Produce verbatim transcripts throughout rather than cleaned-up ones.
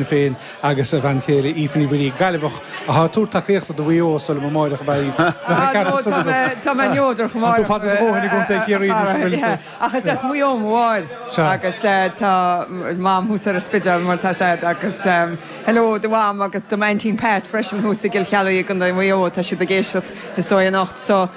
Féin agus a bhean chéile Aoife Ní Mhuirí, Gaillimheach atá ag tabhairt tacaíochta do Mhaigh Eo sula amárach a Tá mé neodrach. Fada do dhóthain i gContae Chiarraí. Ach is as Maigh Eo mo mháthair agus tá mam thuas ar an Spidéal mar tá sé agus hello do mham agus do m'aintín Pat freisin thuas i gCill Cheallaigh i gContae Mhaigh Eo. Tá siad ag éisteacht is dóigh anocht, so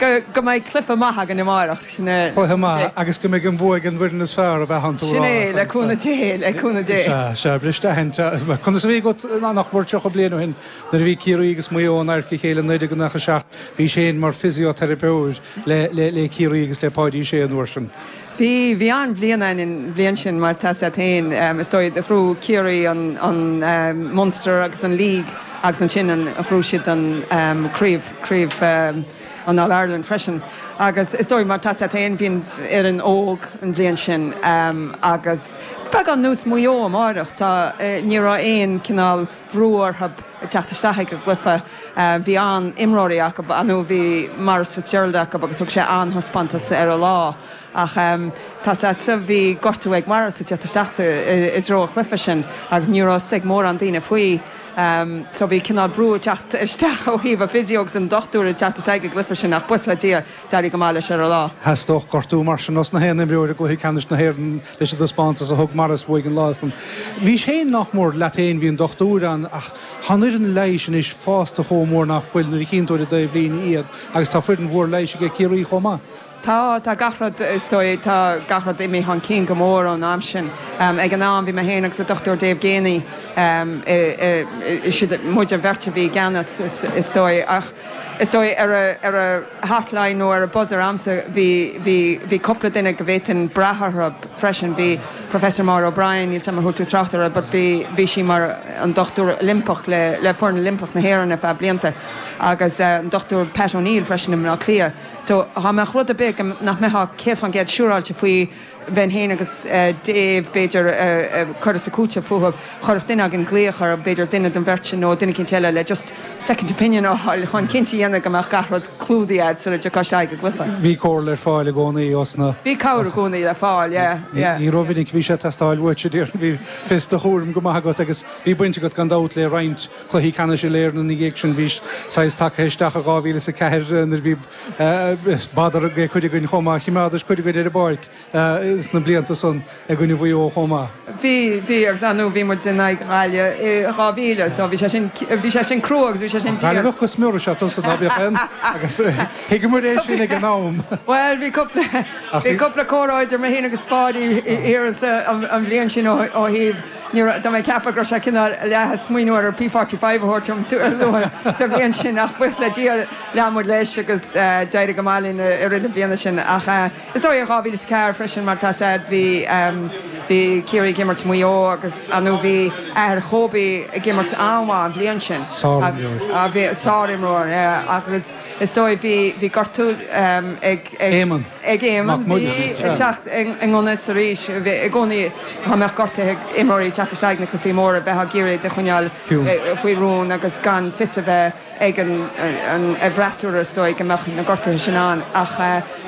go mbeidh cluiche maith againn amárach sin. Cluiche maith agus go mbeidh an bua ag an bhfoireann is fearr a bheith an Sin é, le cúnamh Dé, le cúnamh Dé. Sea, briste aithint. Conas a bhí agat nach mór tríocha bliain ó shin nuair a bhí Ciarraí agus Maigh Eo in adharca a chéile naoi déag nócha seacht, bhís féin mar physiotherapist le le Ciarraí agus le Páidí Sé an uair sin. Bhí bhí an-bhliain ann an bhliain sin mar tá sé féin is dóigh do ghnóthaigh Ciarraí an an Munster agus an League agus ansin an ghnóthaigh siad an craobh craobh an All Ireland freisin. Agus is dóigh mar tá sé féin bhí an fhoireann óg an bhliain sin um, agus beagán nós Maigh Eo amárach tá ní raibh aon cineál brú orthu teacht isteach ag an gcluiche. Bhí an-imreoirí acu anú bhí Maurice Fitzgerald acu agus thug sé an-taispeántas ar a lá. Ach um, tá sa bhí gortú ag Maurice teacht isteach i dtreo an chluiche sin agus ní raibh ag mórán daoine faoi. Um, so bhí cineál brú teacht isteach ó thaobh physio agus an dochtúir teacht isteach ag gcluiche sin ach buíochas le Dia d'éirigh go maith leis ar a lá. Theastódh gortú mar sin os na haon imreoir i gcluiche ceannais na hÉireann leis an taispeántas a thug Maurice uaidh an lá san. Bhí sé nach mór leat féin, bhí an dochtúir ann, ach tá an fhoireann leighis anois fásta chomh mór nach bhfuil nuair a chíonn tú ar an dtaobhlíne iad agus tá foireann mhór leighis ag Ciarraí chomh maith. Tá tá gach rud is dóigh tá gach rud imithe chun cinn go mór ón am sin. Um, ag an am bhí mé féin agus an Dr Dave Geaney um, siad muid an bheirt a bhí i gceannas is, is dóigh ach is dóigh ar a, ar a hotline nó ar a buzzer agamsa bhí bhí bhí cúpla duine go bhféadfainn brath orthu freisin. Bhí Professor Maura O'Brien níl mar tú tráchtar, but bhí bhí sí mar an dochtúir Oilimpeach le le foireann Oilimpeach na hÉireann ar feadh blianta agus uh, an Dr Pat O'Neill freisin i Cliath. So dá mbeadh rud ar bith nach mbeadh céad faoin gcéad siúráilte faoi bheinn féin agus uh, Dave b'fhéidir uh, uh, chur sa cúte fúthu chuirfeadh duine againn glaoch ar b'fhéidir duine den bheirt sin nó duine eicínt eile le just second opinion a fháil chun cinnte a dhéanamh go mbeadh gach rud clúdaithe sula dtiocfadh sé go cluiche. Bhí comhairle ar fáil i gcónaí osna. Bhí cabhair i gcónaí le fáil. Ní rómhinic bhí sé ag teastáil uait bhí fios do chúraim go maith agat agus bhí baint agat gan dabht le roinnt cluichí ceannais uile-Éireann ina dhiaidh sin bhí sais tagtha isteach a dhá mhíle is a ceathair nuair bhí b'fhéidir ag cuid againn chomh maith chimeádais cuid againn ar an bpáirc sna blianta san ag gcoinne Mhaigh Eo chomh maith. Bhí bhí agus anú bhí muid in aghaidh Ghaillimh dhá mhíle, so bhí sé sin bhí sé sin crua agus bhí sé sin Gaillimheach go smior is ea tusa ná bíodh aon agus thuigeamar é sin ag an am. Well bhí cúpla bhí cúpla comhrá idir mé féin agus Páidí thiar an bhliain sin ó thaobh Dá mé ceapadh go sé cineál le smaoineamh ar P forty five a thabhairt luath sa bhliain sin ach buíochas le Dia lean muid leis agus d'éirigh go maith linn i rith na bliana sin ach is dóigh dhá mhíle is ceathair freisin mar tá said bhí bhí Ciarraí ag imirt Maigh Eo agus anú bhí athair Kobe ag imirt an-mhaith an bhliain sin. Sárimreoir. Bhí sárimreoir agus is dóigh bhí bhí gortú ag Éamonn. ag Éamonn bhí ag teacht i ngan fhios arís i gcónaí dá mbeadh gortuithe ag imreoirí teacht isteach na cluichí móra bheith ag iarraidh de choinneáil faoi rún agus gan fios a bheith ag an an bhfreasúra is dóigh go mbeadh na gortuithe sin ann ach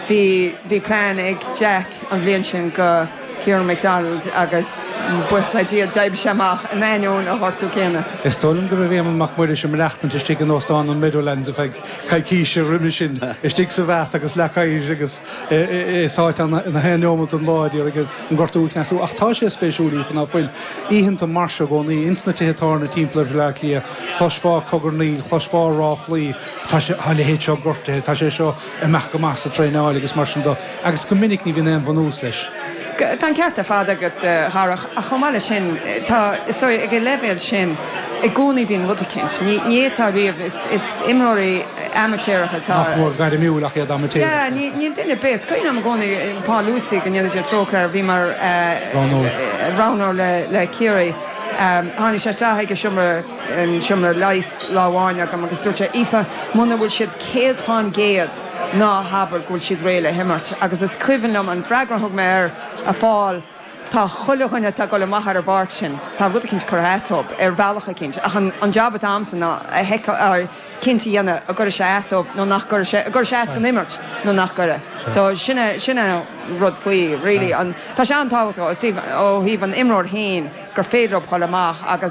bhí bhí plean ag Jack an bhliain sin go Kieran McDonald agus buíochas le Dia d'oibrigh sé amach in ainneoin a ghortú céanna. Is dóigh liom go raibh Éamonn Mac Muiris ag maireachtaint istigh in óstán an Meadowlands a feadh coicíse roimhe sin istigh sa bhat agus le cair agus sáite ina haon neomat an lá ag an gortú a chneasú. Ach tá sé spéisiúil ná fuil oícheanta mar seo i gcónaí ins na tithe tábhairne timpeall ar Bhaile Átha Cliath, chloisfeá cogarnaíl, chloisfeá ráflaí, tá sé a leithéid seo gortaithe, tá sé seo amach go maith sa traenáil agus mar sin de agus go minic ní bhíonn aon bhunús leis. Tá an ceart ar fad agat Dharach ach chomh maith leis sin tá is dóigh ag an leibhéal sin i gcónaí bíonn rud eicínt. Ní ní atá riamh is is imreoirí amaitéaracha atá. Nach mór gairmiúil ach iad amaitéarach. Yeah, ní níl duine ar bith. Is cuimhin liom i gcónaí Paul Lucey go ndéana Dia trócaire air bhí mar roghnóir le le Ciarraí. Tháinig sé isteach ag an seomra an seomra leighis lá amháin agam agus dúirt sé Aoife muna bhfuil siad céad faoin gcéad ná habair go bhfuil siad réidh le himirt agus is cuimhin liom an freagra a thug mé air a Phaul Tá chuile dhuine atá ag dul amach ar an bpáirc sin, tá rud eicínt curtha as dóibh ar bhealach eicínt, ach an an job atá a'msa ná a sheiceáil cinnte a dhéanamh an gcuirfidh sé as dóibh nó nach gcuirfidh sé, an gcuirfidh sé as don imirt nó nach gcuirfidh. So sin é sin é an rud faoi really. An tá sé an-tábhachtach ó thaobh ó thaobh an imreoir féin gur féidir leo dul amach agus